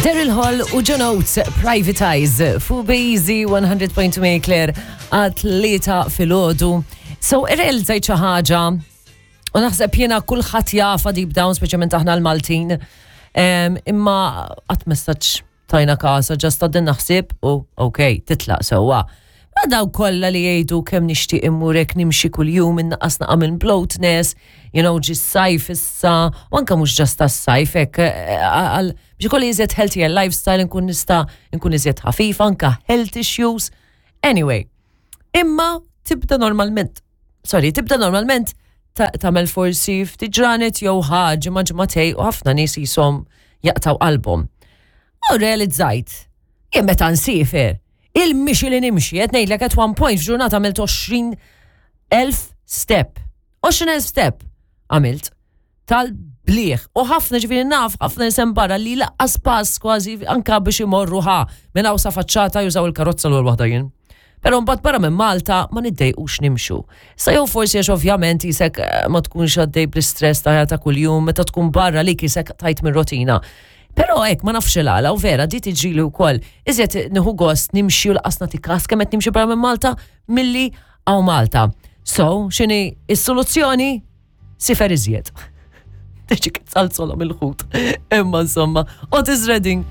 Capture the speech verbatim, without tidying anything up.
Daryl Hall u John Oates, Private Eyes, fu Bejzi one hundred point two Claire għat-tlieta filgħodu. So, irrealizzajt xi ħaġa u naħseb jiena kulħadd jafha deep down, speċjalment aħna l-Maltin. Em, Imma qatt messaġġ tajna kasa, just għaddin naħseb u ok, titlaq sewwa. Ma daw kollha li jgħidu kemm nixtieq immurek nimxi kuljum, innaqqas naqa minn bloatness, you know, ġi sajf issa, u anka mhux just tas-sajf hekk eh, għal biex ikolli iżjed healthier lifestyle, nkun nista' nkun iżjed ħafif, anka health issues. Anyway, imma tibda normalment, sorry, tibda normalment ta- tagħmel forsi ftit ġranet jew ħaġa ma ġimagħtejn u ħafna nies jisom jaqtaw qalbhom. U realizzajt, jien meta nsiefer, il-mixi li nimxi, qed ngħidlek, at one point f'ġurnata għamilt għoxrin elf step. għoxrin elf step għamilt tal-bliħ. U ħafna, ġifieri naf, ħafna nisem barra li laqqas pass kważi anka biex imorru ħa minn hawn sa faċċata jużaw il-karozza l waħda jien. Pero mbagħad barra minn Malta ma niddejqux nimxu. Sa jew forsi għax ovvjament jisek eh, ma tkunx għaddej bl-istress ta' ta' kuljum, meta tkun barra li jisek tajt minn rotina. Pero hekk ma nafx il-għala u vera di tiġrili wkoll. Iżjed nieħu gost nimxi u lanqas nagħti kas kemm qed nimxi barra minn Malta milli hawn Malta. So, x'inhi is-soluzzjoni? Siefer iżjed. Tiġi kitsalzolom il-ħut. Imma insomma, Otis Redding.